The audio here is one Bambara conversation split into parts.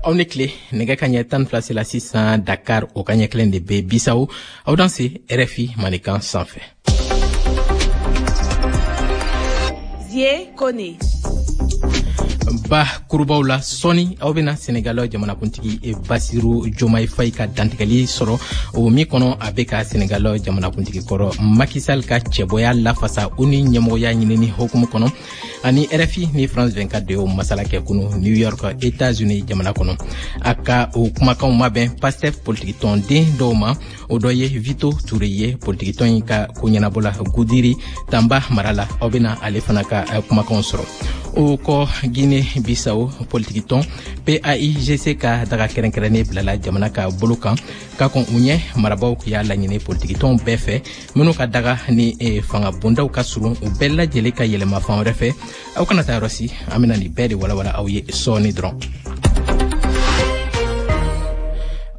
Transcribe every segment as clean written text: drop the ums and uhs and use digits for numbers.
Aw ni tile. Nɛgɛ ka ɲɛ 12 sela sisan Dakar, o ka ɲɛ kelen de bɛ Bisawo. Aw danse RFI Mandenkan sanfɛ. Zie Kone. Ba kurubaw la, sɔɔni aw bɛna Senegal jamanakuntigi Basiru Jomayi Fayi ka dantigɛli sɔrɔ, o min kɔnɔ a bɛ ka Senegal jamanakuntigi kɔrɔ Macky Sall ka cɛbɔya lafasa ONU ɲɛmɔgɔya ɲinini hukumu kɔnɔ. Ani RFI ni France 24 de y'o masala kɛ kunu New York, États-Unis jamana kɔnɔ. A ka o kumakanw mabɛn PASTEF politikitɔnden dɔw ma. O dɔ ye Vito Ture ye, politikitɔn in ka ko ɲɛnabɔla Gudiri Tanba mara la. Aw bɛna ale fana ka kumakanw sɔrɔ. O kɔ, Guinée Bissau politikitɔn PAIGC ka daga kɛrɛnkɛrɛnnen bilala jamana ka bolo kan ka kɔn u ɲɛ. Marabaw y'a laɲini politikitɔnw bɛɛ fɛ minnu ka daga ni fanga bondaw ka surun, u bɛɛ lajɛlen ka yɛlɛma fan wɛrɛ fɛ. Aw kana taa yɔrɔ si, an bɛna nin bɛɛ de walawala aw ye sɔɔni dɔrɔn.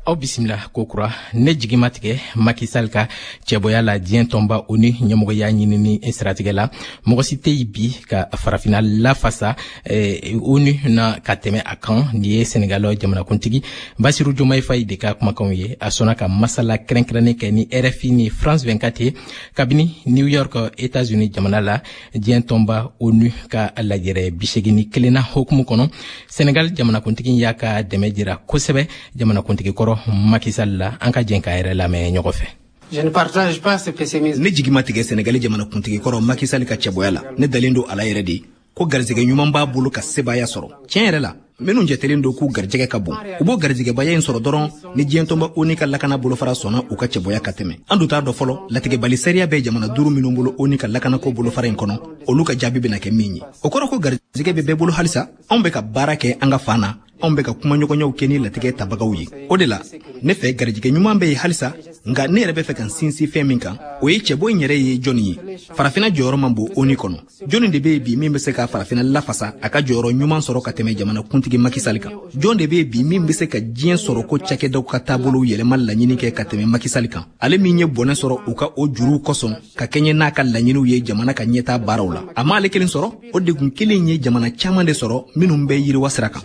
Aw bisimila kokura. Ne jigi ma tigɛ Macky Sall ka cɛbɔya la diɲɛ tɔnba ONU ɲɛmɔgɔya ɲinini siratigɛ la. Mɔgɔ si tɛ yen bi ka farafina lafasa ONU na ka tɛmɛ a kan. Nin ye Senegal jamanakuntigi Basiru Jomayi Fayi de ka kumakanw ye. A sɔnna ka masala kɛrɛnkɛrɛnnen kɛ ni RFI ni France 24 ye kabini New York, États-Unis jamana la, diɲɛ tɔnba ONU ka lajɛrɛ 81nan hukumu kɔnɔ. Senegal jamanakuntigi y'a ka dɛmɛ jira kosɛbɛ jamanakuntigi kɔrɔ Macky Sall la. An ka jɛn k'a yɛrɛ lamɛn ɲɔgɔn fɛ. Je ne partage pas ce pessimisme. Ne jigi ma tigɛ Senegali jamanakuntigi kɔrɔ Macky Sall ka cɛbɔya la. Ne dalen don a la yɛrɛ de ko garijɛgɛ ɲuman b'a bolo ka sebaaya sɔrɔ. Tiɲɛ yɛrɛ la, minnu jatelen don k'u garijɛgɛ ka bon, u b'o garijɛgɛbaya in sɔrɔ dɔrɔn ni diɲɛtɔnba ONU ka lakana bolofara sɔnna u ka cɛbɔya ka tɛmɛ. An dun t'a dɔn fɔlɔ latigɛbali sariya bɛ jamana duuru minnu bolo ONU ka lakanako bolofara in kɔnɔ, olu ka jaabi bɛna kɛ min ye. O kɔrɔ ko garijɛgɛ bɛ bɛɛ bolo halisa. Anw bɛ ka baara kɛ an ka fan na, anw bɛ ka kumaɲɔgɔnyaw kɛ ni latigɛ tabagaw ye. O de la, ne fɛ, garijɛgɛ ɲuman bɛ yen halisa. Nka ne yɛrɛ bɛ fɛ ka n sinsin fɛn min kan, o ye cɛbɔ in yɛrɛ ye jɔnni ye? Farafinna jɔyɔrɔ man bon ONU kɔnɔ. Jɔnni de bɛ yen bi min bɛ se ka farafinna lafasa, a ka jɔyɔrɔ ɲuman sɔrɔ ka tɛmɛ jamana kuntigi Macky Sall kan? Jɔn de bɛ yen bi min bɛ se ka diɲɛ sɔrɔ ko cakɛdaw ka taabolow yɛlɛma laɲini kɛ ka tɛmɛ Macky Sall kan, ale min ye bɔnɛ sɔrɔ u ka o juruw kosɔn ka kɛɲɛ n'a ka laɲiniw ye jamana ka ɲɛtaa baaraw la? A m'ale kelen sɔrɔ, o degun kelen ye jamana caman de sɔrɔ minnu bɛ yiriwa sira kan.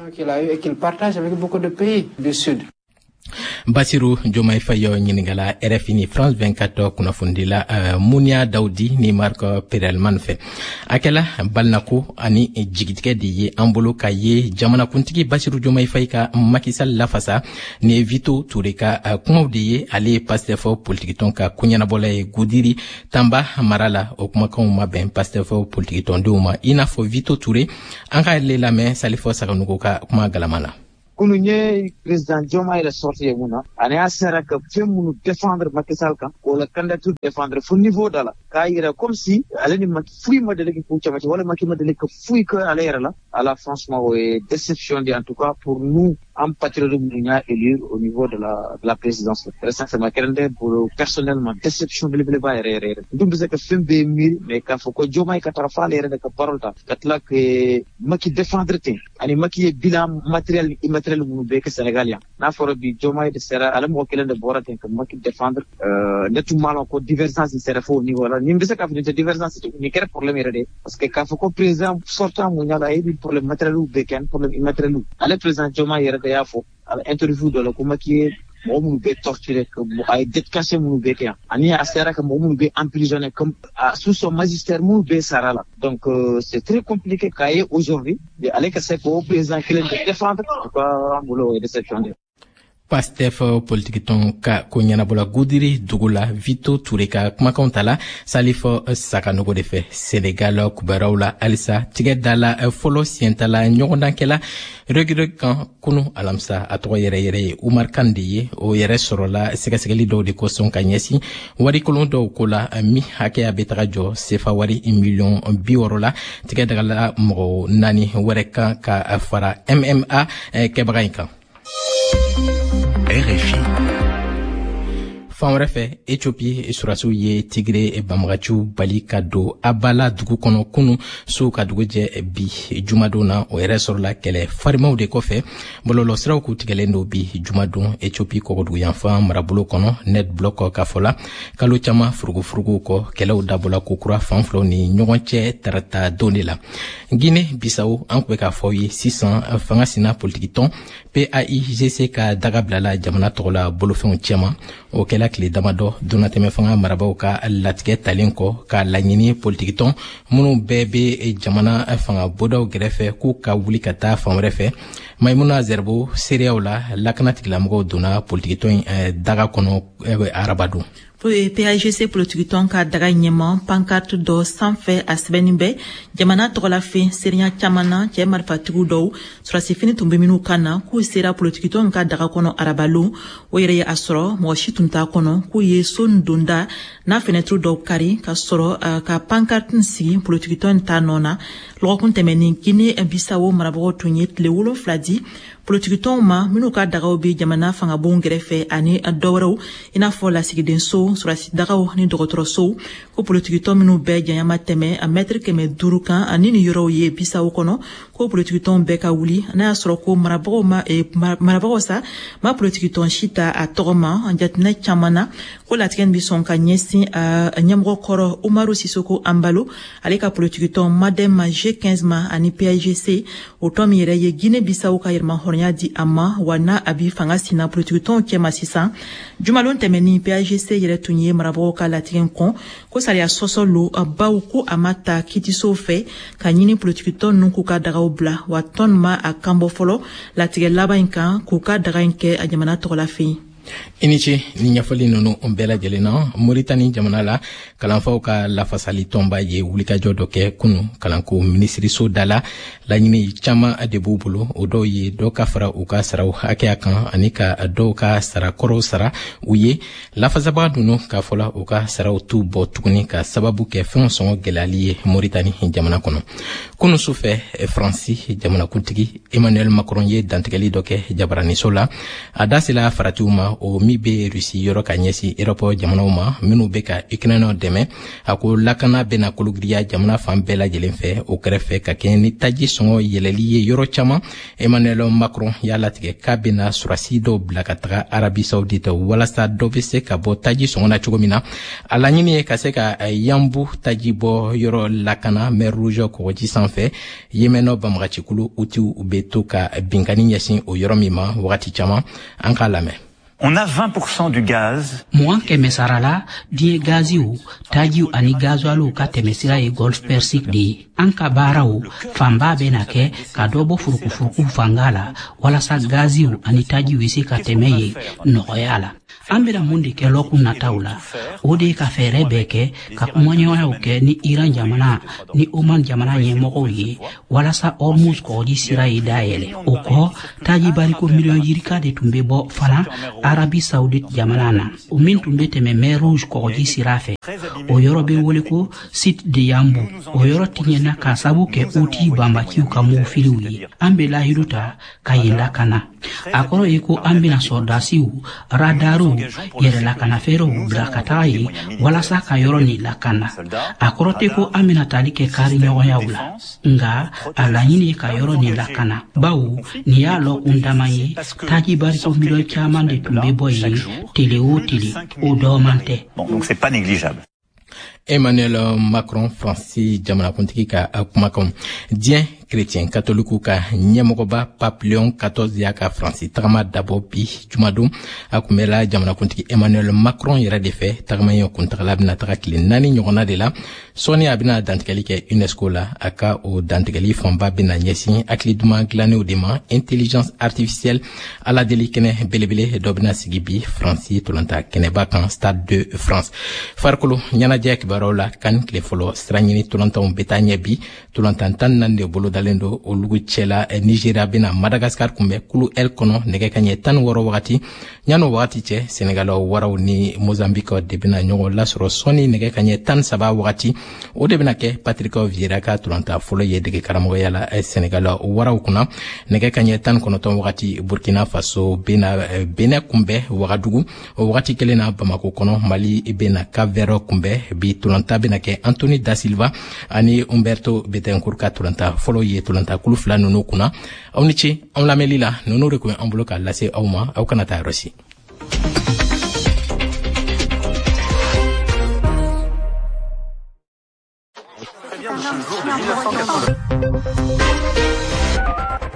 Qu'il partage avec beaucoup de pays du Sud. Basiru Jomayi Fayi ɲininkala RFI ni France 24 kunnafonidila Munia Daudi ni Mark Perelman fɛ. A kɛla balinako ani jigitigɛ de ye an bolo ka ye jamanakuntigi Basiru Jomayi Fayi ka Macky Sall lafasa. Ni ye Vito Ture ka kumaw de ye. Ale ye PASTEF politikitɔn ka koɲɛnabɔla ye Gudiri Tanba mara la. O kumakanw ma bɛn PASTEF politikitɔndenw ma, i n'a fɔ Vito Ture. An ka le lamɛn Salifɔ Saganugu ka kuma galama na. Kunu n ye président Diomaye yɛrɛ sorti ye mun na, ani a sera ka fɛn minnu défendre Macky Sall kan, k'o la candidature défendre fo niveau dɔ la, k'a yira comme si ale ni Macky foyi ma deli k'u cɛmancɛ, wala Macky ma deli ka foyi kɛ ale yɛrɛ la. Ala, franchement, o ye déception de, en tout cas pour nous, an patriotes minnu y'a élu au niveau de la présidence. Très sincèrement, kɛra ne bolo personnellement déception belebeleba yɛrɛ yɛrɛ yɛrɛ. N dun bɛ se ka fɛn bɛɛ miiri, mais k'a fɔ ko Diomaye ka taga f'ale yɛrɛ de ka parole ta ka tila ka Macky défendre ten, ani Macky ye bilan matériel ni immatériel minnu bɛɛ kɛ Sénégal yan, n'a fɔra bi Diomaye de sera, ale mɔgɔ kelen de bɔra ten ka Macky défendre, ne tun m'a lɔn ko divergence sera fo au niveau la. Nin bɛ se k'a fɔ nin tɛ divergence, nin kɛra problème yɛrɛ de, parce que k'a fɔ ko président sortant mun y'a la, a ye nin problème matériel bɛɛ kɛ ani problème immatériel. Ale président Diomaye yɛrɛ de y'a fɔ a la interview dɔ la ko Macky ye mɔgɔ minnu bɛ torturé, a ye dette cachée minnu bɛ kɛ yan, ani a sera ka mɔgɔ minnu bɛ emprisonné comme sous son magistère, minnu bɛ sara la. Donc c'est très compliqué k'a ye aujourd'hui ale ka se k'o président kelen de défendre. En tout cas, an bolo, o ye déception de. Pastef politikitɔn ka ko ɲɛnabɔla Gudiri dugu la, Vito Ture ka kumakanw ta la Salifɔ Sakanogo de fɛ. Senegal kubɛraw la halisa, tigɛ dala fɔlɔ siɲɛtala ɲɔgɔndankɛla Reug kan kunu alamisa, a tɔgɔ yɛrɛ yɛrɛ ye Umar Kan de ye. O yɛrɛ sɔrɔla sɛgɛsɛgɛli dɔw de kosɔn ka ɲɛsin warikolon dɔw ko la, min hakɛya bɛ taga jɔ sefa wari miliyɔn 60 la. Tigɛ dagala mɔgɔ naani wɛrɛ kan ka fara MMA kɛbaga in kan. RFI. Fan wɛrɛ fɛ, Ethiopie surasiw ye Tigre banbagaciw bali ka don Abala dugu kɔnɔ kunu su ka dugu jɛ bi jumadon na. O yɛrɛ sɔrɔla kɛlɛ farimaw de kɔfɛ. Bɔlɔlɔsiraw k'u tigɛlen don bi jumadon Ethiopie kɔgɔduguyanfan marabolo kɔnɔ. Net Block ka fɔ la, kalo caman furugufuruguw kɔ, kɛlɛw dabɔla kokura fan filaw ni ɲɔgɔn cɛ tarata don de la. Guinée Bissau, an kun bɛ k'a fɔ ye sisan, fanga sina politikitɔn PAIGC ka daga bilala jamana tɔgɔ la bolofɛnw cɛma. O kɛla tile damadɔ donnatɛmɛ fanga marabaw ka latigɛ talen kɔ k'a laɲini politikitɔn minnu bɛɛ bɛ jamana fanga bodaw gɛrɛfɛ k'u ka wuli ka taa fan wɛrɛ fɛ. Maimuna Zerbo seereyaw la, lakana tigilamɔgɔw donna politikitɔn in daga kɔnɔ arabadon. PAIGC politikitɔn ka daga ɲɛma, pancarte dɔ sanfɛ, a sɛbɛnnin bɛ jamana tɔgɔlafɛn. Seereya caman na, cɛɛ marifatigiw dɔw, sɔrɔsifini tun bɛ minnu kan na, k'u sera politikitɔn ka daga kɔnɔ arabalon. O yɛrɛ ye a sɔrɔ mɔgɔ si tun t'a kɔnɔ, k'u ye so donda n'a fenɛtiri dɔw kari ka sɔrɔ ka pancarte sigi politikitɔn ta nɔ na. Lɔgɔkun tɛmɛnin, Guinée Bissau marabagaw tun ye tile 7 di politikitɔnw ma minnu ka dagaw bɛ jamana fangabonw kɛrɛfɛ ani dɔwɛrɛw, i n'a fɔ lasigidenso, sɔrɔsidagaw ni dɔgɔtɔrɔsow, ko politikitɔn minnu bɛɛ janya ma tɛmɛ a mɛtiri 500 kan ani ni yɔrɔw ye Bissau kɔnɔ, ko politikitɔnw bɛɛ ka wuli, n'a y'a sɔrɔ ko marabagaw ma marabagaw sa ma politikitɔn si ta a tɔgɔ ma. Jateminɛ caman na, ko latigɛ bɛ sɔn ka ɲɛsin ɲɛmɔgɔ kɔrɔ Umaru Sisoko Anbalo, ale ka politikitɔn MADEM G15 ma ani PAIGC, o tɔn min yɛrɛ ye Guinée Bissau ka yɛrɛmahɔrɔnya di a ma, wa n'a a bi fanga sina politikitɔnw cɛma sisan. Jumalon tɛmɛnin, PAIGC yɛrɛ tun ye marabagaw ka latigɛ kɔn, ko sariya sɔsɔ lo, baw ko a ma ta kiitisow fɛ ka ɲini politikitɔn ninnu k'u ka dagaw bila. Wa tɔn ma a kan bɔ fɔlɔ latigɛ laban in kan k'u ka daga in kɛ a jamana tɔgɔla fɛ. I ni ce ni ɲɛfɔli ninnu bɛɛ lajɛlen na. Moritani jamana la, kalanfaw ka lafasali tɔnba ye wulikajɔ dɔ kɛ kunu kalanko minisiriso da la. Laɲini caman de b'u bolo. O dɔw ye dɔ ka fara u ka saraw hakɛya kan ani ka dɔw ka sarakɔrɔw sara u ye. Lafasabaga ninnu k'a fɔla, u ka saraw t'u bɔ tuguni ka sababu kɛ fɛnw sɔngɔ gɛlɛyali ye Moritani jamana kɔnɔ. Kunu sufɛ, Faransi jamanakuntigi Emmanuel Macron ye dantigɛli dɔ kɛ jabaraniso la. A da sela faratiw ma, o min bɛ Rusi yɔrɔ ka ɲɛsin Erɔpɔ jamanaw ma minnu bɛ ka Ukraine dɛmɛ. A ko lakana bɛna kologiriya jamana fan bɛɛ lajɛlen fɛ. O kɛrɛfɛ, ka kɛɲɛ ni taji sɔngɔ yɛlɛli ye yɔrɔ caman, Emmanuel Macron y'a latigɛ k'a bɛna surasi dɔw bila ka taga Arabie Saoudite walasa dɔ bɛ se ka bɔ taji sɔngɔ na cogo min na. A laɲini ye ka se ka Yanbu taji bɔ yɔrɔ lakana Mer Rouge kɔgɔji sanfɛ, Yemen banbagacikulu Houthis bɛ to ka binkanni ɲɛsin o yɔrɔ min ma wagati caman. An k'a lamɛn. On a 20% du gaz. 20% sara la, diɲɛ gaziw, tajiw ani gazuwaliw ka tɛmɛsira ye Golfe Persique de ye. An ka baaraw fanba bɛna kɛ ka dɔ bɔ furukufuruku fanga la walasa gaziw ani tajiw bɛ se ka tɛmɛ yen nɔgɔya la. An bɛna mun de kɛ lɔkun nataw la? O de ye ka fɛɛrɛ bɛɛ kɛ ka kumaɲɔgɔnyaw kɛ ni Iran jamana ni Oman jamana ɲɛmɔgɔw ye walasa Hormuz kɔgɔji sira ye dayɛlɛ. O kɔ, taji bariko miliyɔn yirika de tun bɛ bɔ fana Arabie Saoudite jamana na, o min tun bɛ tɛmɛ Mer Rouge kɔgɔji sira fɛ. O yɔrɔ bɛ wele ko site de Yanbu. O yɔrɔ tiɲɛna k'a sabu kɛ Houthi banbaciw ka mugufiliw ye. An bɛ lahidu ta ka yen lakana. A kɔrɔ ye ko an bɛna sɔrɔdasiw, radariw, yɛrɛ lakanafɛɛrɛw bila ka taga yen walasa ka yɔrɔ nin lakana. A kɔrɔ tɛ ko an bɛna tali kɛ kari ɲɔgɔnyaw la, nka a laɲini ye ka yɔrɔ nin lakana, bawo nin y'a lɔkun dama ye, taji bariko miliyɔn caman de tun bɛ bɔ yen tele o tele. O dɔɔman tɛ. Donc c'est pas négligeable. Emmanuel Macron, Faransi jamanakuntigi ka kumakanw. Diɲɛ chrétien katoliku ka ɲɛmɔgɔba Pape Léon XIV y'a ka Faransi tagama dabɔ bi jumadon. A kunbɛla jamanakuntigi Emmanuel Macron yɛrɛ de fɛ. Tagama in kuntagala bɛna taga tile 4 ɲɔgɔnna de la. Sɔɔni, a bɛna dantigɛli kɛ UNESCO la. A ka o dantigɛli fanba bɛna ɲɛsin hakili duman dilannenw de ma, intelligence artificielle. Aladeli kɛnɛ belebele dɔ bɛna sigi bi Faransi tolanta kɛnɛba kan, Stade de France. Farikolo ɲɛnajɛ kibaruyaw la, CAN tile fɔlɔ siraɲini tolantanw bɛ taa ɲɛ bi. Tolantan 14 de bolodalen. bolodalen don olu cɛla. Nigeria bɛna Madagascar kunbɛn kulu L kɔnɔ nɛgɛ kaɲɛ 16 wagati. Yan'o wagati cɛ, Senegal waraw ni Mozambique de bɛna ɲɔgɔn lasɔrɔ sɔɔni nɛgɛ kaɲɛ 13 wagati. O de bɛna kɛ Patrick Vieira ka tolanta fɔlɔ ye dege karamɔgɔya la Senegal waraw kunna. Nɛgɛ kaɲɛ 19 wagati, Burkina Faso bɛna Benin kunbɛn Wagadugu. O wagati kelen na, Bamako kɔnɔ, Mali bɛna Cap-Vert kunbɛn. Bi tolanta bɛna kɛ Anthony da Silva ani Humberto Betancourt ka tolanta fɔlɔ ye tolanta kulu fila ninnu kunna. Aw ni ce anw lamɛnli la. Ninnu de kun an bolo k'a lase aw ma. Aw kana taa yɔrɔ si.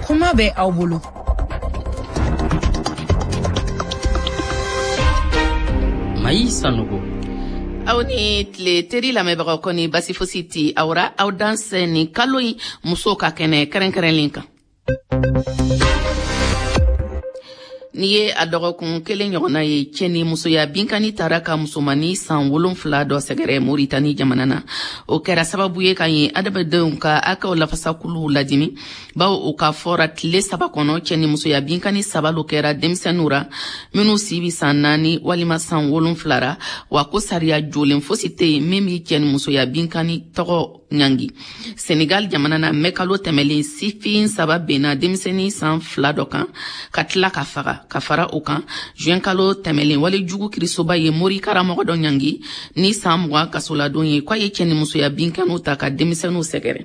Kuma bɛ aw bolo. Mayi Sanogo. Aw ni tile, teri lamɛnbagaw, kɔni basi fosi ti aw ra. Aw dansɛ nin kalo in musow ka kɛnɛ kɛrɛnkɛrɛnlen kan. N'i ye a dɔgɔkun kelen ɲɔgɔnna ye, cɛ ni musoya binkani taara ka musomani san 7 dɔ sɛgɛrɛ Moritani jamana na. O kɛra sababu ye ka yen adamadenw ka hakɛw lafasakuluw ladimi, bawo o ka fɔra tile 3 kɔnɔ, cɛ ni musoya binkani 3 lo kɛra denmisɛnninw ra minnu si bi san 4 walima san 7 ra. Wa ko sariya jolen fosi tɛ yen min bi cɛ ni musoya binkani tɔgɔ ɲangi. Senegal jamana na, mɛkalo tɛmɛlen, sifin 3 benna denmisɛnnin san 2 dɔ kan ka tila ka faga. Ka fara o kan, juin kalo tɛmɛlen, walejugu kirisoba ye mori karamɔgɔ dɔ ɲangi ni san 20 kasoladon ye, k'a ye cɛ ni musoya binkaniw ta ka denmisɛnninw sɛgɛrɛ.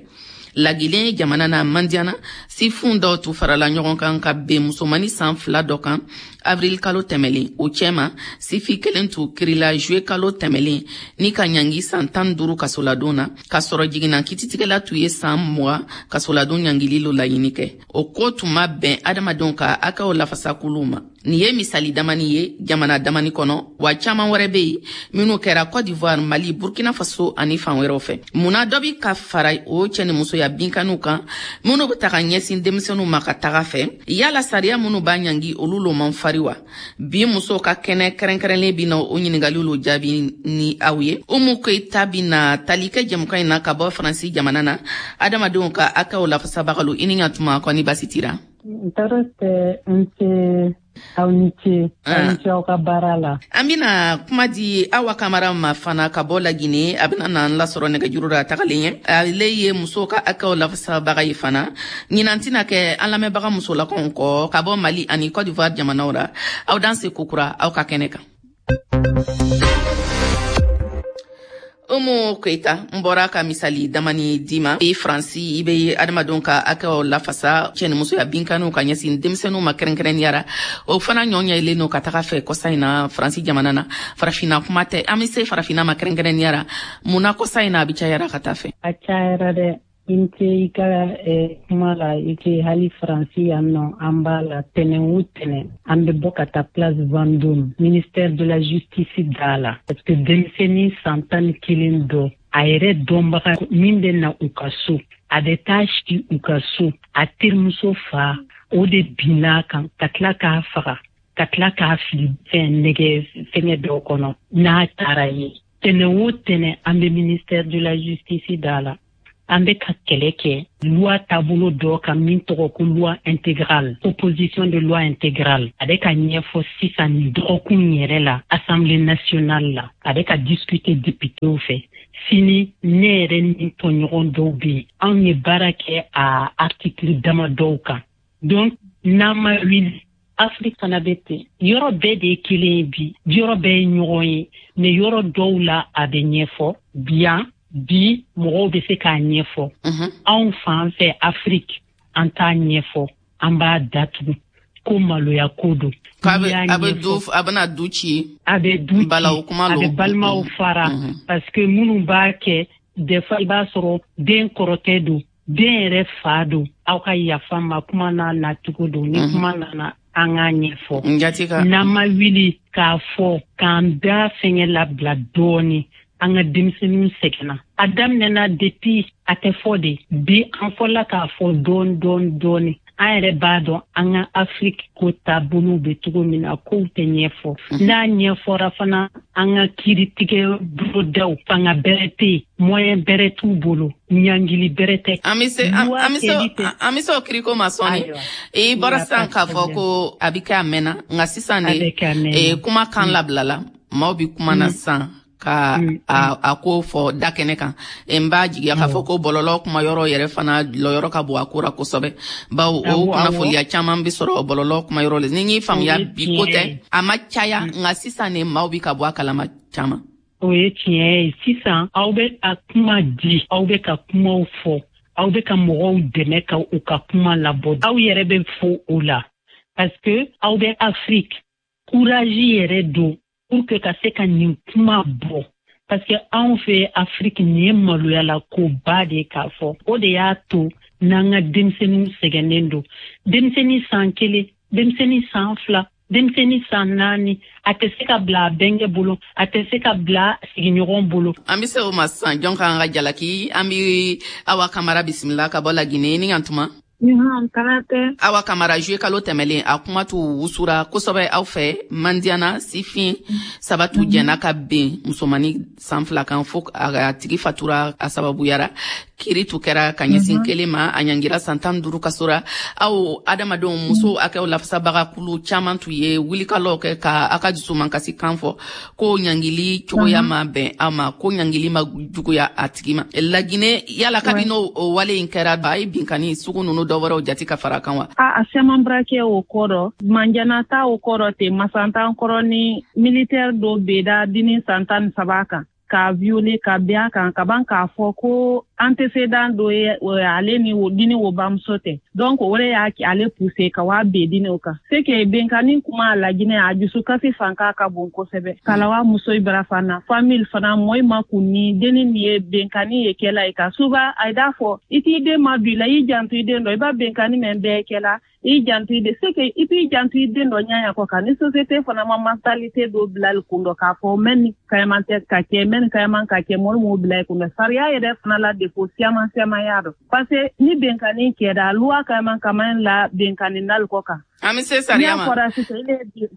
Lagilen jamana na, Mandiana, sifun dɔw tun farala ɲɔgɔn kan ka ben musomani san 2 dɔ kan avril kalo tɛmɛlen. O cɛma, sifi kelen tun kirila juillet kalo tɛmɛlen ni ka ɲangi san 15 kasoladon na, k'a sɔrɔ jiginna kititigɛla tun ye san 20 kasoladon ɲangili lo laɲini kɛ. O ko tun ma bɛn adamadenw ka hakɛw lafasakuluw ma. Nin ye misali damani ye jamana damani kɔnɔ, wa caman wɛrɛ bɛ yen minnu kɛra Côte d'Ivoire, Mali, Burkina Faso ani fan wɛrɛw fɛ. Munna dɔ bi ka fara o cɛ ni musoya binkaniw kan minnu bɛ taga ɲɛsin denmisɛnninw ma ka taga fɛ? Yala sariya minnu b'a ɲangi, olu lo man fari wa? Bi musow ka kɛnɛ kɛrɛnkɛrɛnlen bi na o ɲininkaliw lo jaabi ni aw ye. Umu Koyita bi na tali kɛ jɛmukan in na ka bɔ Faransi jamana na, adamadenw ka hakɛw lafasabagaw. I ni ɲantuma, kɔni basi tira? Tɔɔrɔ tɛ, n ce. Aw ni ce, aw ni ce aw ka baara la. An bɛna kuma di Awa Kamara ma fana ka bɔ Lagine. A bɛna n'an lasɔrɔ nɛgɛjuru la tagalen ɲɛ. Ale ye musow ka hakɛw lafasabaga ye fana. Ɲinan tɛna kɛ an lamɛnbaga musolakaw kɔ ka bɔ Mali ani Côte d'Ivoire jamanaw la. Aw danse kokura aw ka kɛnɛ kan. Umu Koyita, n bɔra ka misali damani d'i ma. I Faransi, i bɛ adamadenw ka hakɛw lafasa, cɛ ni musoya binkaniw ka ɲɛsin denmisɛnninw ma kɛrɛnkɛrɛnnenya la. O fana ɲɔ ɲɛlen don ka taga fɛ kɔsa in na Faransi jamana na. Farafinna kuma tɛ, an bɛ se farafinna ma kɛrɛnkɛrɛnnenya la. Mun na kɔsa in na a bɛ cayara ka taa fɛ? A cayara dɛ. I ni ce i ka kuma la. I ce hali Faransi yan nɔ, an b'a la tɛnɛn o tɛnɛn, an bɛ bɔ ka taa Place Vendôme, ministère de la Justice da la, parce que denmisɛnnin san 11 dɔ, a yɛrɛ dɔnbaga min bɛ na u ka so, a bɛ taa si u ka so, a terimuso fa o de binna kan ka tila k'a faga, ka tila k'a fili fɛn nɛgɛ fɛngɛ dɔw kɔnɔ n'a taara ye. Tɛnɛn o tɛnɛn, an bɛ ministère de la Justice da la. An bɛ ka kɛlɛ kɛ loi taabolo dɔ kan min tɔgɔ ko loi intégrale, proposition de loi intégrale. A bɛ ka ɲɛfɔ sisan nin dɔgɔkun yɛrɛ la Assemblée nationale la, a bɛ ka discuter députéw fɛ. Sini ne yɛrɛ ni tɔɲɔgɔn dɔw bɛ yen, anw ye baara kɛ a article dama dɔw kan. Donc n'an ma wuli, Afrique fana bɛ ten. Yɔrɔ bɛɛ de ye kelen ye bi, yɔrɔ bɛɛ ye ɲɔgɔn ye, mais yɔrɔ dɔw la a bɛ ɲɛfɔ bien. Bi mɔgɔw bɛ se k'a ɲɛfɔ. Anw fan fɛ Afrique, an t'a ɲɛfɔ, an b'a datugu ko maloya ko don. A bɛna du ci, a bɛ du ci, a bɛ balimaw fara, parce que minnu b'a kɛ, des fois i b'a sɔrɔ den kɔrɔkɛ don, den yɛrɛ fa don. Aw ka yafa ma, kuma n'a nacogo don. Ni kuma nana, an k'a ɲɛfɔ. N'an ma wuli k'a fɔ k'an da fɛngɛ labila dɔɔni, an ka denmisɛnninw sɛgɛnna. A daminɛna depuis a tɛ fɔ de, bi an fɔla k'a fɔ dɔɔni dɔɔni dɔɔni. An An yɛrɛ b'a dɔn an ka Afrique ko taabolow bɛ cogo min na, kow tɛ ɲɛfɔ. N'a ɲɛfɔra fana, an ka kiiritigɛ bolodaw, fanga bɛrɛ tɛ yen, moyen bɛrɛ t'u bolo, ɲangili bɛrɛ tɛ. An bɛ se o kiriko ma sɔɔni. I bɔra sisan k'a fɔ ko a bɛ kɛ a mɛnna, nka sisan de kuma kan labilala, maaw bɛ kuma na sisan ka a ko fɔ da kɛnɛ kan. N b'a jigiya k'a fɔ ko bɔlɔlɔ kuma yɔrɔ yɛrɛ fana lɔyɔrɔ ka bon a ko ra kosɛbɛ, bawo o kunnafoniya caman bɛ sɔrɔ bɔlɔlɔ kuma yɔrɔ la. Ni n y'i faamuya, bi ko tɛ, a ma caya, nka sisan de maaw bɛ ka bɔ a kalama caman. O ye tiɲɛ ye. Sisan aw bɛ a kuma di, aw bɛ ka kumaw fɔ, aw bɛ ka mɔgɔw dɛmɛ ka u ka kuma labɔ, aw yɛrɛ bɛ fo o la, parce que aw bɛ Afrique courage yɛrɛ don pour que ka se ka nin kuma bɔ, parce que anw fɛ Afrique, nin ye maloyala koba de k'a fɔ. O de y'a to n'an ka denmisɛnninw sɛgɛnnen don. Denmisɛnnin san 1, denmisɛnnin san 2, denmisɛnnin san 4, a tɛ se ka bila a bɛnkɛ bolo, a tɛ se ka bila sigiɲɔgɔn bolo. An bɛ se o ma sisan. Jɔn k'an ka jalaki? An bɛ Awa Kamara bisimila ka bɔ Laginɛ ni yan tuma. Awa Kamara, juillet kalo tɛmɛlen, a kuma t'u wusura kosɛbɛ aw fɛ Mandiyana. Sifin 3 t'u jɛnna ka ben musomani san 2 kan fo a tigi fatura a sababuyara. Kiri tu kɛra ka ɲɛsin kelen ma, a ɲangira san 15 kaso ra. Aw adamadenw musow hakɛw lafasabaga kulu caman tun ye wulikalaw kɛ ka a ka dusumankasi kan fɔ ko ɲangili cogoya ma bɛn aw ma, ko ɲangili ma juguya a tigi ma Laginɛ. Yala kabi n'o wale in kɛra, a ye binkani sugu nunu dɔ wɛrɛw jati ka fara kan wa? A siaman bara kɛ o kɔrɔ, Manjana ta o kɔrɔ ten, Masantan kɔrɔ ni militaire dɔ beda dini san 13 kan k'a violer, ka bin a kan ka ban k'a fɔ ko antécédent dɔ ye ale ni o dini o bamuso tɛ. Donc o de y'a ale pousser ka wa ben dini o kan. C'est que benkani kuma Laginɛ, a dusukasi fanka ka bon kosɛbɛ. Kalawa muso bara fana, famille fana, mɔɔ ma kun ni denni nin ye benkani ye kɛla ye ka souvent a d'a fɔ i t'i den ma don i la, i janto i den dɔ, i b'a benkani mɛn bɛɛ kɛla, i janto i den. C'est que i b'i janto i den dɔ ɲɛ kɔ kan ni société fana ma mentalité dɔ bila i kun dɔ k'a fɔ mɛ ni kayaman tɛ ka kɛ, mɛ ni kayaman ka kɛ, mɔgɔ m'o bila i kun dɔ. Sariya yɛrɛ fana la défaut siaman siaman y'a dɔn, parce que ni benkani kɛra, loi kayaman kaman la benkani nali kɔ kan. An bɛ se sariya ma,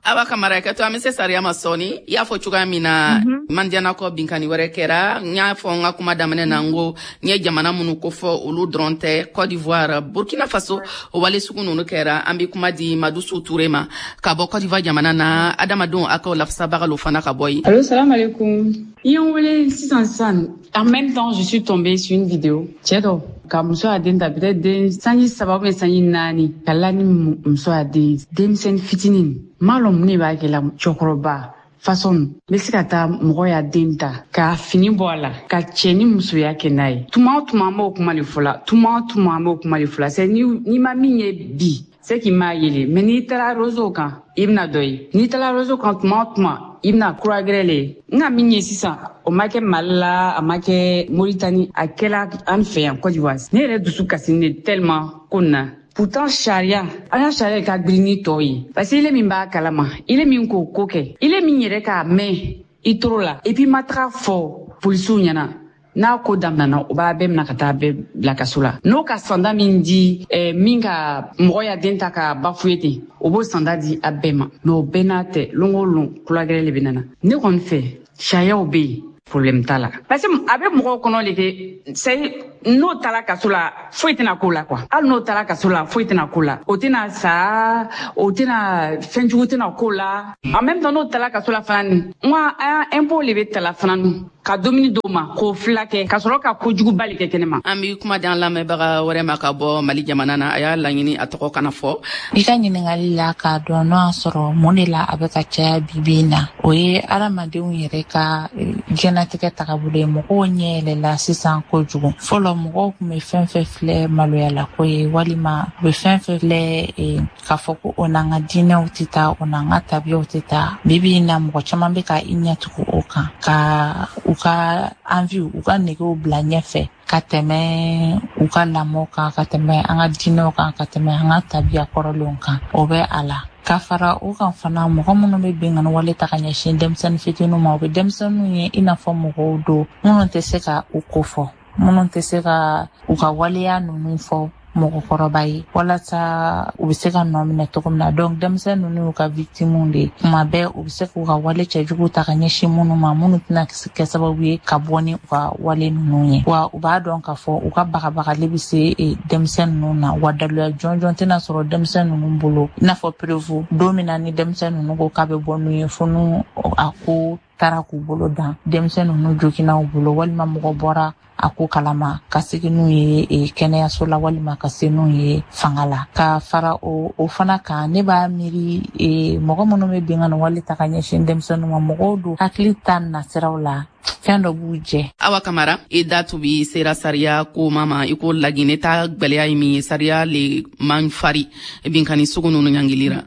Awa Kamara, kɛ to, an bɛ se sariya ma sɔɔni. I y'a fɔ cogoya min na, Mandiyana kɔ, binkani wɛrɛ kɛra. N y'a fɔ n ka kuma daminɛ na, n ko n ye jamana minnu kofɔ, olu dɔrɔn tɛ, Côte d'Ivoire, Burkina Faso, o wale sugu ninnu kɛra. An bɛ kuma di Madusu Ture ma ka bɔ Côte d'Ivoire jamana na, adamadenw hakɛw lafasabaga lo fana ka bɔ yen. Allo, salam alaikum. I ye n wele sisan sisan. En même temps, je suis tombée sur une vidéo. Cɛ dɔ ka muso y'a den ta, peut-être den sanji 3 ou bien sanji 4, ka la ni muso y'a den denmisɛnnin fitinin. M'a lɔn mun de b'a kɛ la. Cɛkɔrɔba façon n bɛ se ka taa mɔgɔ y'a den ta k'a fini bɔ a la ka cɛ ni musoya kɛ n'a ye. Tuma o tuma, an b'o kuma de fɔ la. Tuma o tuma, an b'o kuma de fɔ la. C'est n'i ma min ye bi, c'est k'i m'a yele, mais n'i taara réseau kan, i bɛna dɔ ye. N'i taara réseau kan, tuma o tuma, i bɛna kura gɛrɛ le ye. N ka min ye sisan, o ma kɛ Mali la, a ma kɛ Moritani, a kɛla an fɛ yan Côte d'Ivoire. Ne yɛrɛ dusu kasinen de tellement ko nin na. Pourtant sariya, an ka sariya ka girin ni tɔw ye, parce que ile min b'a kalama, ile min k'o ko kɛ, ile min yɛrɛ k'a mɛn i toro la, et puis ma taga fɔ polisiw ɲɛna, n'a ko daminɛna, o b'a bɛɛ minɛ ka taa bɛɛ bila kaso la. N'o ka sanda min di min ka mɔgɔ ya den ta ka bafuye ten, o b'o sanda di a bɛɛ ma. Mais o bɛɛ n'a tɛ, lon o lon, kulagɛrɛ le bɛ nana. Ne kɔni fɛ, sariyaw bɛ yen, problème t'a la, parce que a bɛ mɔgɔw kɔnɔ le ke c'est n'o taara kaso la, foyi tɛna k'o la quoi. Hali n'o taara kaso la, foyi tɛna k'o la, o tɛna sa, o tɛna fɛnjugu tɛna k'o la. En même temps, n'o taara kaso la fana, ni n ka impôt le bɛ tala fana ka dumuni d'o ma k'o fila kɛ ka sɔrɔ ka kojuguba le kɛ kɛnɛ ma. An bi kuma di an lamɛnbaga wɛrɛ ma ka bɔ Mali jamana na. A y'a laɲini a tɔgɔ kana fɔ. I ka ɲiningali la, k'a dɔn n'o y'a sɔrɔ mun de la a bɛ ka caya bibi in na, o ye adamadenw yɛrɛ ka diɲɛnatigɛ tagabolo ye. Mɔgɔw ɲɛ yɛlɛla sisan kojugu. Fɔlɔ, mɔgɔw tun bɛ fɛn fɛn filɛ maloyalako ye, walima u bɛ fɛn fɛn filɛ k'a fɔ ko o n'an ka diinɛw tɛ taa, o n'an ka tabiyaw tɛ taa, bibi in na mɔgɔ caman bɛ ka i ɲɛtugu o kan, ka u ka envie, u ka negew bila ɲɛfɛ ka tɛmɛ u ka lamɔ kan, ka tɛmɛ an ka diinɛw kan, ka tɛmɛ an ka tabiya kɔrɔlenw kan. O bɛ a la. Ka fara o kan fana, mɔgɔ minnu bɛ binkani wale ta ka ɲɛsin denmisɛnnin fitininw ma, u bɛ denmisɛnninw ye i n'a fɔ mɔgɔw don minnu tɛ se ka u ko fɔ, minnu tɛ se ka u ka waleya ninnu fɔ. mɔgɔkɔrɔba ye, walasa u bɛ se ka nɔ minɛ cogo min na. Donc denmisɛn ninnu y'u ka victimes de ye. Kuma bɛɛ u bɛ se k'u ka wale cɛjugu ta ka ɲɛsin minnu ma, minnu tɛna kɛ sababu ye ka bɔ ni u ka wale ninnu ye. Wa u b'a dɔn k'a fɔ u ka bagabagali bɛ se denmisɛn ninnu na, wa daluya jɔnjɔn tɛna sɔrɔ denmisɛn ninnu bolo, i n'a fɔ preuve don min na ni denmisɛn ninnu ko k'a bɛ bɔ n'u ye, fo n'u a ko taara k'u bolo dan, denmisɛn ninnu joginna u bolo, walima mɔgɔ bɔra a ko kalama ka segin n'u ye kɛnɛyaso la, walima ka se n'u ye fanga la. Ka fara o fana kan, ne b'a miiri mɔgɔ minnu bɛ binkanni wale ta ka ɲɛsin denmisɛnninw ma, mɔgɔw don hakili ta nasiraw la, fɛn dɔ b'u jɛ. Awa Kamara, i da tubi sera sariya ko ma i ko Laginɛ ta gwɛlɛya ye min ye, sariya le man fari binkanni sugu ninnu ɲangilira.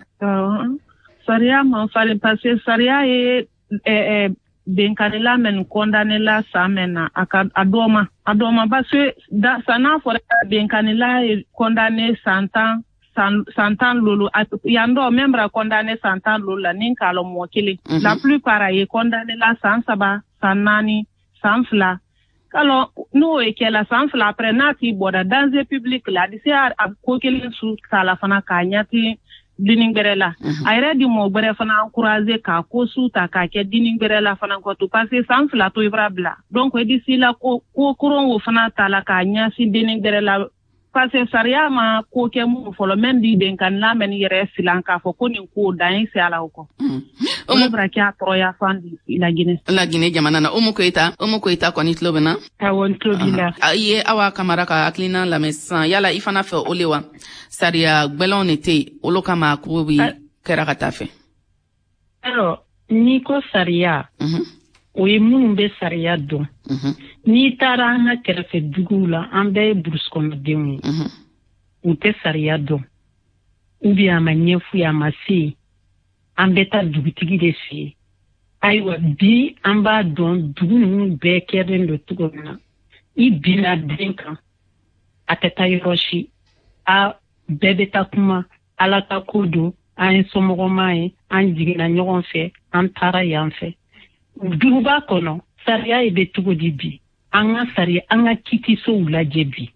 Sariya man fari parce que sariya ye benkanila mɛn condamné la san mɛn na, a ka a dɔ ma parce que san n'a fɔra benkanila ye condamné san 10 san 10 lolu, yan dɔ même bara condamné san 10 lolu la ni k'a lɔ mɔgɔ kelen. La plupart a ye condamné la san 3, san 4, san 2. Alors n'o ye kɛla san 2 après n'a t'i bɔra danger public la, a di se a ko kelen su k'a la fana k'a ɲɛti dini gbɛrɛ la. A yɛrɛ di mɔgɔ gbɛrɛ fana encourager k'a ko su ta k'a kɛ dini gbɛrɛ la fana kɔ to, parce que san 2 to i bara bila. Donc i di si la ko koron o fana ta la k'a ɲɛsin dini gbɛrɛ la, parce que sariya ma ko kɛ mun fɔlɔ même di benkanila mɛn yɛrɛ silan k'a fɔ ko nin ko dan ye se a la o kɔ. O bara kɛ a tɔɔrɔya fan di Laginɛ. Laginɛ jamana na. Umu Koyita kɔni tulo bɛ na? Awɔ, n tulo b'i la. I ye Awa Kamara ka hakilina lamɛn sisan, yala i fana fɛ o le wa? Sariya gwɛlɛnw de tɛ yen, olu kama ko bi kɛra ka taa fɛ. Alors, n'i ko sariya, o ye minnu bɛ sariya dɔn. N'i taara an ka kɛrɛfɛ duguw la, an bɛɛ ye burusikɔnɔdenw ye. U tɛ sariya dɔn, ou bien a ma ɲɛf'u ye, a ma se yen. An bɛ taa dugutigi de fɛ yen. Ayiwa, bi an b'a dɔn dugu ninnu bɛɛ kɛlen don cogo min na. I binna den kan, a tɛ taa yɔrɔ si. A bɛɛ bɛ taa kuma, Ala ka ko don, an ye somɔgɔma ye, an jiginna ɲɔgɔn fɛ, an taara yan fɛ. Duguba kɔnɔ, sariya ye bɛ cogo di bi? An ka sariya, an ka kitisow lajɛ bi.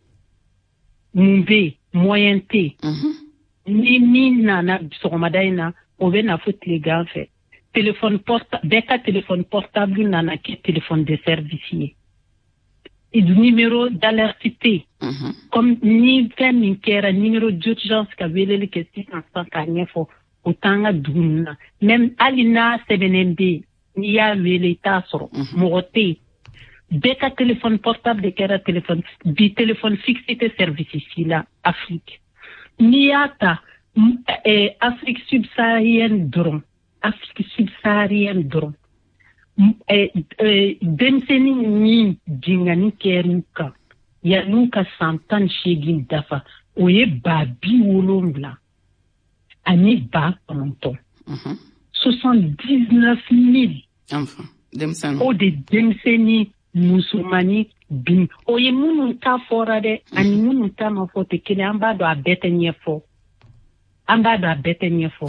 Mun bɛ yen? Moyen tɛ yen. Ni min nana sɔgɔmada in na, o bɛ na fo tilegan fɛ. Téléphone portable, bɛɛ ka téléphone portable nana kɛ téléphone de service ye. Numéro d'alerte tɛ yen. Comme ni fɛn min kɛra, numéro d'urgence ka weleli kɛ sisan sisan k'a ɲɛfɔ, o t'an ka dugu ninnu na. Même hali n'a sɛbɛnnen bɛ yen, n'i y'a wele i t'a sɔrɔ. Mɔgɔ tɛ yen. Bɛɛ ka téléphone portable de kɛra téléphone. Bi téléphone fixe tɛ service si la Afrique. N'i y'a ta Afrique subsaharienne dɔrɔn, Afrique subsaharienne dɔrɔn, denmisɛnnin min binkanni kɛr'u kan yann'u ka san 18 dafa, o ye 70 ani 9,000. 79 000. O de denmisɛnnin musomannin bin, o ye minnu ta fɔra dɛ, ani minnu ta ma fɔ tɛ kelen. An b'a dɔn a bɛɛ tɛ ɲɛfɔ. An b'a dɔn a bɛɛ tɛ ɲɛfɔ.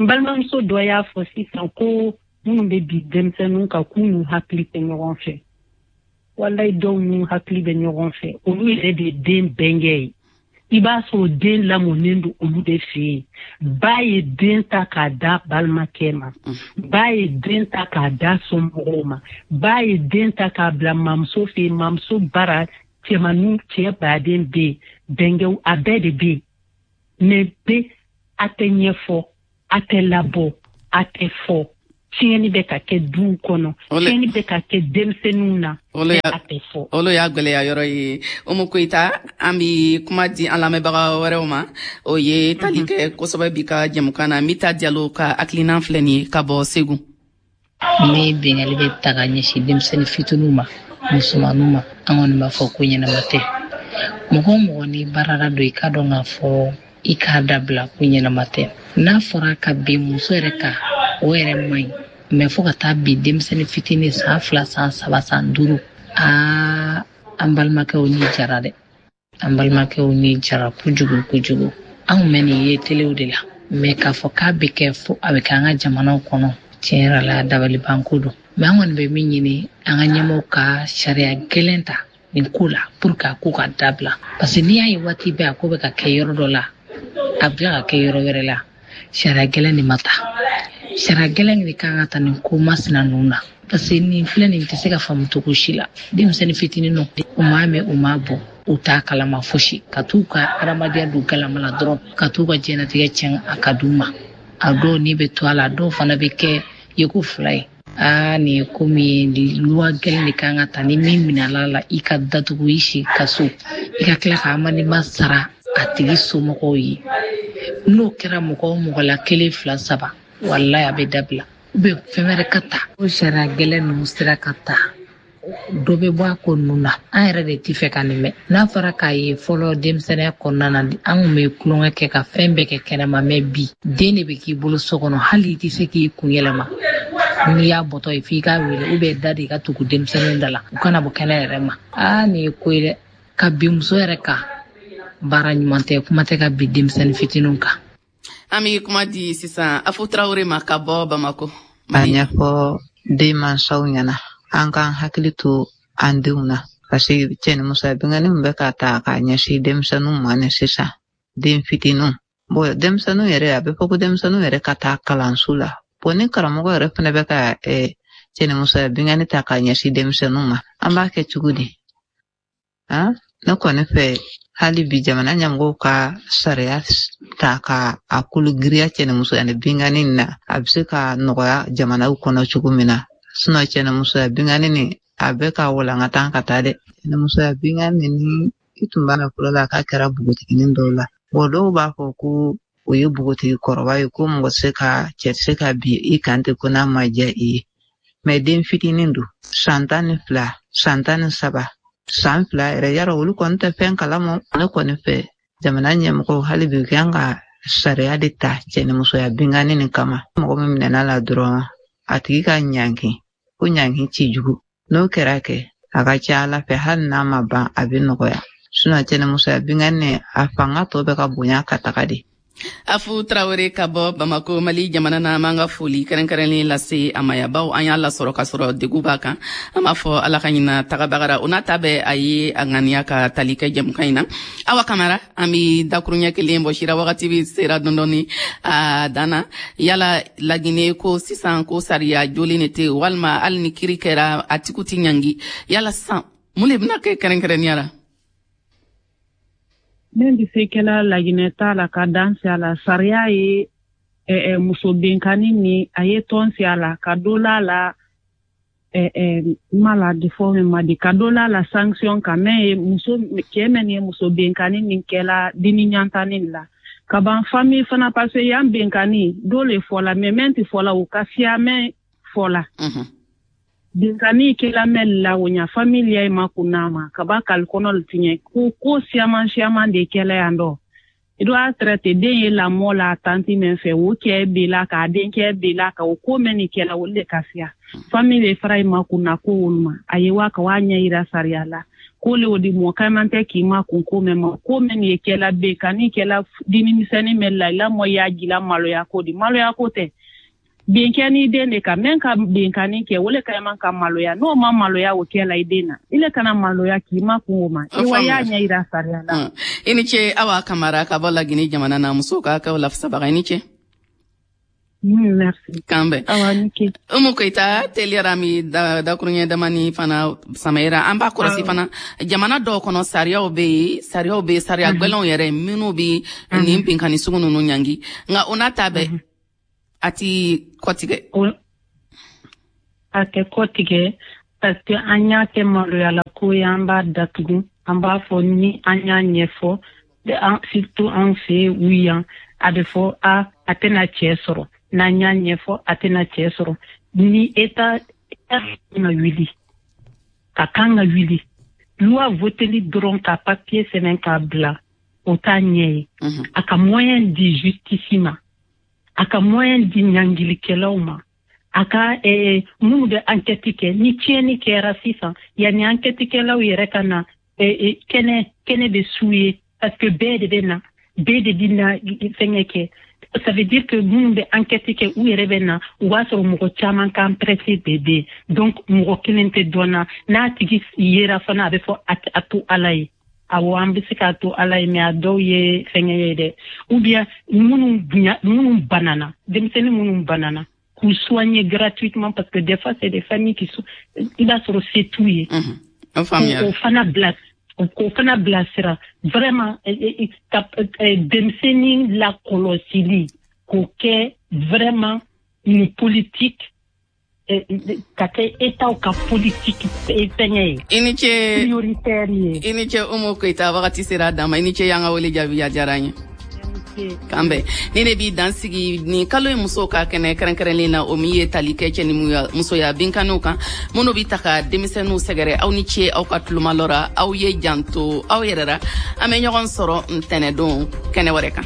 N balimamuso dɔ y'a fɔ sisan ko minnu bɛ bi denmisɛnninw kan k'u n'u hakili tɛ ɲɔgɔn fɛ. Walayi, dɔw n'u hakili bɛ ɲɔgɔn fɛ, olu yɛrɛ de ye den bɛnkɛ ye. I b'a sɔrɔ den lamɔnen don olu de fɛ yen. Ba ye den ta k'a da balimakɛ ma, ba ye den ta k'a da somɔgɔw ma, ba ye den ta k'a bila mamuso fɛ yen. Mamuso bara cɛmanninw, cɛ baden bɛ yen, bɛnkɛw a bɛɛ de bɛ yen. Mais bɛ a tɛ ɲɛfɔ, a tɛ labɔ, a tɛ fɔ. Tiɲɛni bɛ ka kɛ duw kɔnɔ, tiɲɛni bɛ ka kɛ denmisɛnninw na, a tɛ fɔ. Olu y'a gwɛlɛya yɔrɔ ye. Umu Koyita, an bi kuma di an lamɛnbaga wɛrɛw ma, o ye tali kɛ kosɛbɛ bi ka jɛmukan na. Mita Jalo ka hakilina filɛ nin ye ka bɔ Segu. Ni binkanni bɛ ta ka ɲɛsin denmisɛnnin fitininw ma, musomaninw ma, an kɔni b'a fɔ ko ɲɛnama tɛ. Mɔgɔ o mɔgɔ ni baarada don, i k'a dɔn k'a fɔ i k'a dabila ko ɲɛnama tɛ. N'a fɔra ka bin muso yɛrɛ kan, o yɛrɛ man ɲi. Mɛ fo ka taa bin denmisɛnnin fitinin san 2, san 3, san 5, aa, an balimakɛw ni jara dɛ. An balimakɛw ni jara kojugu kojugu. Anw mɛ nin ye telew de la, mɛ k'a fɔ k'a bɛ kɛ fo a bɛ kɛ an ka jamanaw kɔnɔ, tiɲɛ yɛrɛ la dabalibanko don. Mɛ an kɔni bɛ min ɲini, an ka ɲɛmɔgɔw ka sariya gɛlɛn ta nin ko la pour que a ko ka dabila, parce que n'i y'a ye waati bɛɛ a ko bɛ ka kɛ yɔrɔ dɔ la, a bɛ tila ka kɛ yɔrɔ wɛrɛ la, sariya gɛlɛn de ma ta. Sariya gɛlɛn de kan ka ta nin ko masina ninnu na, parce que nin filɛ nin tɛ se ka faamu cogo si la. Denmisɛnnin fitinin nɔ, u m'a mɛn, u m'a bɔ, u t'a kalama fosi, ka t'u ka adamadenya don galama la dɔrɔn, ka t'u ka diɲɛnatigɛ tiɲɛ a ka d'u ma. A dɔw ni bɛ to a la, a dɔw fana bɛ kɛ yeko fila ye. Aa, nin ye ko min ye, loi gɛlɛn de kan ka ta. Ni min minɛla la, i ka datugu i si ka so, i ka tila ka amendement sara a tigi somɔgɔw ye. N'o kɛra mɔgɔ o mɔgɔ la, 1, 2, 3, walayi a bɛ dabila. U bɛ fɛn wɛrɛ ka ta, o sariya gɛlɛn ninnu sera ka ta, dɔ bɛ bɔ a ko ninnu na. An yɛrɛ de ti fɛ ka nin mɛn. N'a fɔra k'a ye fɔlɔ denmisɛnninya kɔnɔna na, an kun bɛ tulonkɛ kɛ ka fɛn bɛɛ kɛ kɛnɛma, mɛ bi den de bɛ k'i bolo so kɔnɔ, hali i tɛ se k'i kun yɛlɛma. N'i y'a bɔtɔ ye, f'i k'a wele ou bien da de ka tugu denmisɛnninw da la, u kana bɔ kɛnɛ yɛrɛ ma. Aa, nin ye ko ye dɛ, ka bin muso yɛrɛ kan baara ɲuman tɛ, kuma tɛ ka bin denmisɛnnin fitininw kan. An bɛ kuma di sisan Afu Tarawele ma ka bɔ Bamako. A ɲɛfɔ denmansaw ɲɛna, an k'an hakili to an denw na, parce que cɛnimusoya binkanni min bɛ ka ta k'a ɲɛsin denmisɛnninw ma ni sisan, den fitininw. Bon, denmisɛnninw yɛrɛ, a bɛ fɔ ko denmisɛnninw yɛrɛ ka taa kalanso la. Bon, ni karamɔgɔ yɛrɛ fana bɛ ka cɛnimusoya binkanni ta k'a ɲɛsin denmisɛnninw ma, an b'a kɛ cogo di? Han, ne kɔni fɛ, hali bi jamana ɲɛmɔgɔw ka sariya ta ka a kolo giriya cɛnimusoya ni binkanni na, a bɛ se ka nɔgɔya jamanaw kɔnɔ cogo min na. Sinɔn cɛnimusoya binkanni nin, a bɛ ka walankata ka taa dɛ. Cɛnimusoya binkanni ni i tun b'a mɛn fɔlɔ la k'a kɛra npogotiginin dɔw la. Bon, dɔw b'a fɔ ko o ye npogotigi kɔrɔba ye, ko mɔgɔ tɛ se ka cɛ tɛ se ka bin i kan ten ko n'a ma diya i ye. Mɛ den fitinin don, san 12, san 13, san 2 yɛrɛ, yarɔ olu kɔni tɛ fɛn kalama. Ne kɔni fɛ, jamana ɲɛmɔgɔw hali bi u kan ka sariya de ta cɛnimusoya binkanni nin kama. Mɔgɔ min minɛna la dɔrɔn, a tigi ka ɲangi, ko ɲangi ci jugu. N'o kɛra kɛ, a ka ca Ala fɛ, hali n'a ma ban, a bɛ nɔgɔya. Sinɔn cɛnimusoya binkanni, a fanga tɔ bɛ ka bonya ka taga de. Afu Tarawele ka bɔ Bamako, Mali jamana na. An b'an ka foli kɛrɛnkɛrɛnlen lase a ma yabaw an y'a lasɔrɔ k'a sɔrɔ degun b'a kan. An b'a fɔ Ala ka ɲina tagabagara o n'a ta bɛɛ, a ye a ŋaniya ka tali kɛ jɛmukan in na. Awa Kamara, an bi dakuruɲɛ kelen bɔ sira, wagati bi sera dɔndɔni a dan na. Yala Laginɛ ko sisan ko sariya jolen de tɛ, walima hali ni kiri kɛra a tigiw ti ɲangi, yala sisan mun de bɛna kɛ kɛrɛnkɛrɛnnenya la? Min bɛ se kɛla Laginɛ ta la ka dan si a la, sariya ye muso binkanni ni a ye tɔn si a la ka dɔ la la ma la defɔ min ma di ka dɔ la la sanction kan mɛ ye muso cɛ mɛn ye muso binkanni nin kɛla dini ɲantani la ka ban famille fana, parce que yan binkanni dɔ le fɔla, mɛ mɛn tɛ fɔla, o ka siya mɛn fɔla. Binkanni kɛla mɛn la, o ɲa famille ya ma kunna ma ka ba kali kɔnɔ tiɲɛ ko siaman siaman de kɛla yan dɔ. I doit traiter den ye lamɔ la tanti min fɛ, o cɛ b'i la k'a denkɛ b'i la ka o ko mɛn nin kɛla, olu de ka siya. Famille fara i ma kunna ko olu ma, a ye wa ka wa ɲɛ yira sariya la ko le o di mɔgɔ caman tɛ k'i ma kun ko mɛn ma ko mɛn nin ye kɛla binkanni kɛla dini misɛnnin mɛn la, i lamɔ y'a jila maloya ko di maloya ko tɛ. Binkɛni den de kan mɛn ka binkanni kɛ, o le ka man ka maloya. N'o ma maloya o kɛ la i den na, i le kana maloya k'i ma kun o ma, i wa y'a ɲɛ yira sariya la. I ni ce Awa Kamara ka bɔ Lagini jamana na, musow ka hakɛw lafasabaga. I ni ce. Merci. K'an bɛn. Awa, ni ce. Umu Koyita, teliyara mi dakuruɲɛ damani fana samayira. An b'a kɔlɔsi fana, jamana dɔw kɔnɔ sariyaw bɛ yen, sariyaw bɛ yen, sariya gwɛlɛnw yɛrɛ minnu bɛ nin binkanni sugu ninnu ɲangi, nka o n'a ta bɛɛ a ti kɔtigɛ. A tɛ kɔtigɛ parce que an y'a kɛ maloyala ko ye, an b'a datugu, an b'a fɔ ni an y'a ɲɛfɔ, surtout an fɛ yen u yan, a bɛ fɔ a tɛna cɛ sɔrɔ. N'an y'a ɲɛfɔ, a tɛna cɛ sɔrɔ. Ni État kan ka wuli, ka kan ka wuli, loi voteli dɔrɔn ka papier sɛbɛn k'a bila, o t'a ɲɛ ye. A ka moyen di justice ma, a ka moyen di ɲangilikɛlaw ma, a ka minnu bɛ enquête kɛ. Ni tiɲɛni kɛra sisan, yanni enquête kɛlaw yɛrɛ ka na, kɛnɛ kɛnɛ bɛ su ye, parce que bɛɛ de bɛ na, bɛɛ de bɛ na fɛngɛ kɛ. Ça veut dire que minnu bɛ enquête kɛ, u yɛrɛ bɛ na, u b'a sɔrɔ mɔgɔ caman ka empreinte de bɛ yen. Donc mɔgɔ kelen tɛ dɔn na. N'a tigi yera fana, a bɛ fɔ a to Ala ye. Awɔ, an bɛ se k'a to Ala ye, mais a dɔw ye fɛngɛ ye dɛ. Ou bien minnu bonya, minnu banana, denmisɛnnin minnu banana, k'u soigner gratuitement, parce que des fois c'est des familles qui sont, i b'a sɔrɔ se t'u ye. O faamuyara. K'o fana bilasira vraiment, ka denmisɛnnin lakɔlɔsili k'o kɛ vraiment une politique, ka kɛ État ka politique fɛngɛ ye. I ni ce. Prioritaire ye. I ni ce, Umu Koyita. Wagati sera a dan ma. I ni ce, y'an ka wele jaabi, a diyara an ye. K'an bɛn. Ni ne b'i dan sigi nin kalo ye musow ka kɛnɛ kɛrɛnkɛrɛnlen na, o min ye tali kɛ cɛ ni musoya binkanniw kan minnu bi ta ka denmisɛnninw sɛgɛrɛ. Aw ni ce aw ka tulomalɔ ra. Aw ye janto aw yɛrɛ ra. An bɛ ɲɔgɔn sɔrɔ ntɛnɛdon kɛnɛ wɛrɛ kan.